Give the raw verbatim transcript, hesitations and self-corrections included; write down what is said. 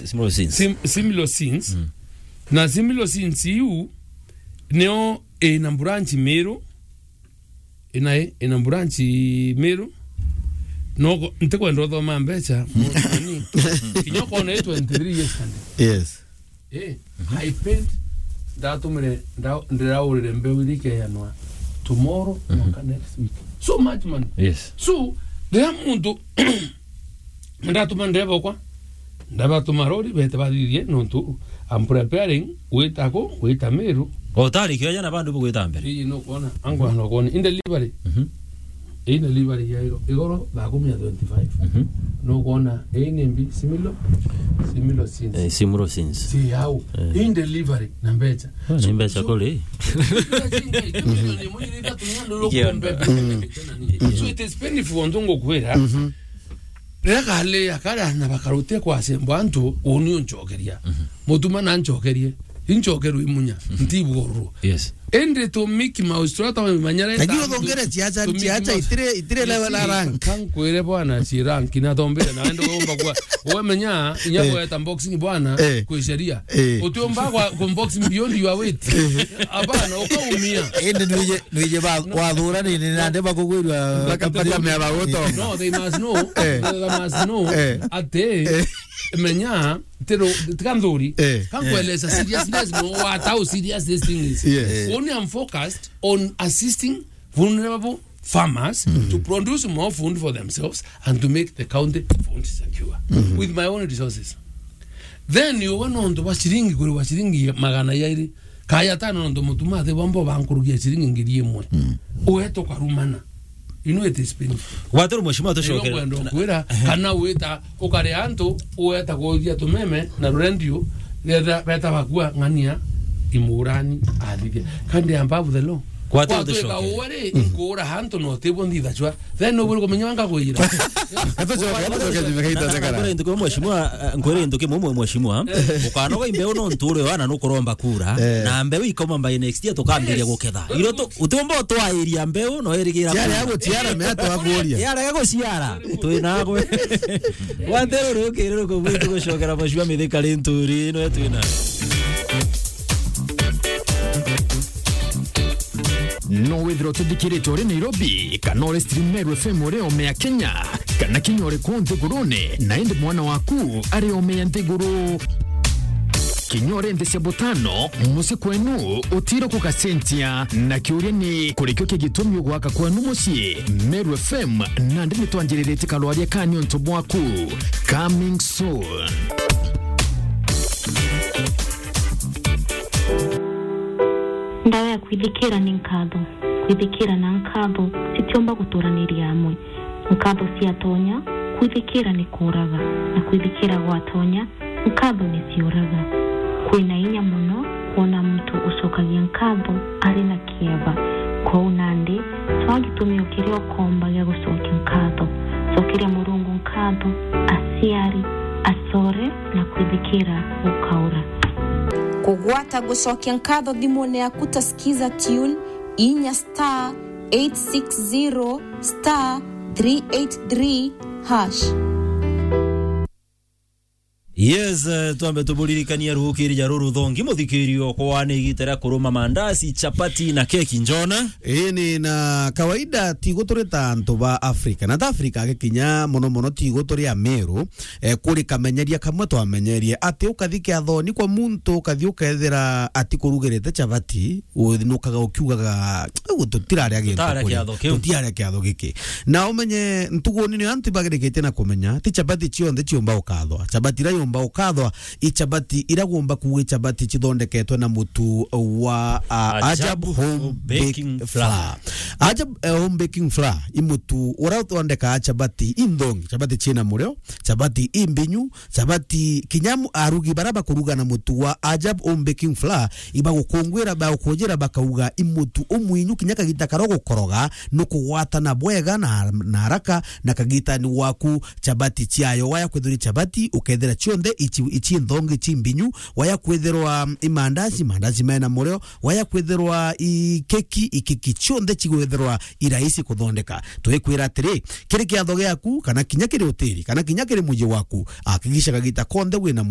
Similar sins. Sim-, similar sins. Mm. Na similar sins iu nio ina branch Meru, ina, ina branch Meru. No, ntikwenda uthoma mbeca, mutani. Kinya ukona i twenty-three yesterday. Yes. Eh, I paid, ndatumire, nda-, ndiraurire mbeu iria ikeyanwa tomorrow, mhm, mwanka next week. So much money. Yes. So, riria muntu, ndatuma ndereba okwa, ndabatuma rori, bete bathithie, nontu I'm preparing gwita ku, gwita Meru. Utari kioja na bandu bugwita mbere. Ii, nukwona, angwa nukwona. In delivery. Mhm. In delivery ya igoro, igoro, thaa kumi ya twenty-five. Mhm. Nukwona, ii ni mbi, similo, similo sins. Eh, similo sins. Si au. Eh. In delivery, na mbecha. Ah, ni mbecha kuri. So, milioni imwe iri ithatu, ndio. So it is painful, ontu ngukwira. Mhm. Riria kali akara na bakarutia kwacemba antu, uni uncokeria. Mhm. Mutuma na ncokerie. Incokerwe imunya, mhm, ntibuurwo. Yes. Indi tu Mickey Mouse turia twamanyara. Lakini uthongere ciaca, ciaca itire, itire level na rank. Kankwire bwana, ci rank na tombire na ende umba kwa. Wemenya, inya, eh, kweta boxing bwana, eh, kwi sheria. Eh. Utiumba kwa, kwa boxing beyond your weight. Eh. Hapana, ukaumia. Indi nwije, nwije ba, no, wathura ni, ni nande bakugwirwa. Bakataka mea ba gutonga. No, they must know. Eh. They must know. Eh. Ati, eh, menya, tero, tiga nthuri. Eh. Kankweleza seriousness, no, what, how serious this thing is. Yes. Eh. Only I'm focused on assisting vulnerable farmers, mm, to produce more food for themselves and to make the county food secure, mm, with my own resources. Then you went on to wa shilingi, kuri wa shilingi magana yairi. Kaya tano nontu mutuma athi bombo bankurugia ciringi ngiri imwe. Mm. Uwe tukarumana. You know it is painful. Waturu mheshimiwa tucokere. Ndio kwenda kwira, ehe, kana wita ukare antu, uwe ta kuthia tumeme na rurendio, getha beta bakua ng'ania imurani athithia. Kandi above the law. Waturu tucokere. Uwe ri, mm, nkura antu no tibo nthithacua. Then nubwire kumenya wanga kwira. Atucoke, atucoke nyuma gaita thekara. Nkwire ntuki mheshimiwa, eh, nkwire ntuki mumwe mheshimiwa. Eh. Ukanoga imbeu no nture wana nukuromba kura. Eh. Na mbeu ikoma by next year tukambiria guketha. Iro tu, utiumba utwairia mbeu no irigira. Ciara ya guciara me atwakuria. Yara ya guciara. Twi nagwe. Watero rukiri rukumwiti gucokera mheshimiwa mithika ri nturi no twina. No withirwa utithikirite uri Nairobi, kana uri stream Meru F M uri ome ya Kenya, kana kinya uri kuu nthigurune, na indi mwana waku ari ome ya nthiguru. Kinya uri nthi cia butano, mucii kwenu utiro kugacentia. Na kiuria ni, kurikio ki gitumi ugwaka kwenu mucii? Meru F M, nandi nitwanjiriritie karwaria ka niuntu bwaku. Coming soon. Ndawa ya kwithikira ni nkatho. Kwithikira na nkatho citiumba guturaniria amwe. Nkatho ciatonya, kwithikira ni kuuraga, na kwithikira gwatonya, nkatho ni ciuraga. Kwina inya mono kwona muntu ucokagia nkatho ari na kieba. Kwou nandi, twaa gitumi o kiria ukomba gia gucokia nkatho. Cokeria Murungu nkatho, aciari, acore, na kwithikira gukaura. Kugwata gucokia nkatho thimune yaku ta Skiza Tune, inya star eight six zero star three eight three hash. Yes, eh, twambe tuburirikania ruukiri ja ruru thongi, muthikirio, kwa ni igita ria kuruma mandazi, chapati na keki, njona. Ii ni na kawaida tigo turi ta antu ba Afrika. Na ta Afrika agikinya mono mono tigo turi Ameru, eh, kuri kamenyeria kamwe twamenyerie ati ukathi kiathoni kwa muntu, ukathi ukethira ati kurugirite chapati, u-, nukaga ukiugaga, "Uu tutiraria gintu kuri, tutiraria kiatho kiu, tutiraria kiatho giki." Na umenye ntuguni ni antu bagirikitie na kumenya, ti chapati cionthe ciumba ukathwa. Chapati ira yumba ukathwa, i chapati ira gumba kuuga i chapati cithondeketwe na mutu wa, a, Ajab Ajab Home Home Baking Baking Flour. Flour. Ajab, eh, Home Baking Flour, i mutu ura uthondekaa chapati inthongi, chapati ciina murio, chapati imbinyu, chapati kinya mu-, arugi bara bakuruga na mutu wa Ajab Home Baking Flour, ibagukungwira, bagukujira, bakauga i mutu umwinyu kinya kagita karo gukoroga, nukugwatana bwega na, na haraka, na kagitani waku chapati ciayo. Waya kwithirwa i chapati, ukethira cionthe ici, ici nthongi, ici mbinyu. Waya kwithirwa i mandazi, mandazi mena murio. Waya kwithirwa i keki, i keki cionthe cigwithirwa i rahisi kuthondeka. Twikwira atiri, kiri kiatho giaku, kana kinya kiri hoteli, kana kinya kiri muji waku, hakikisha kagita konthe wina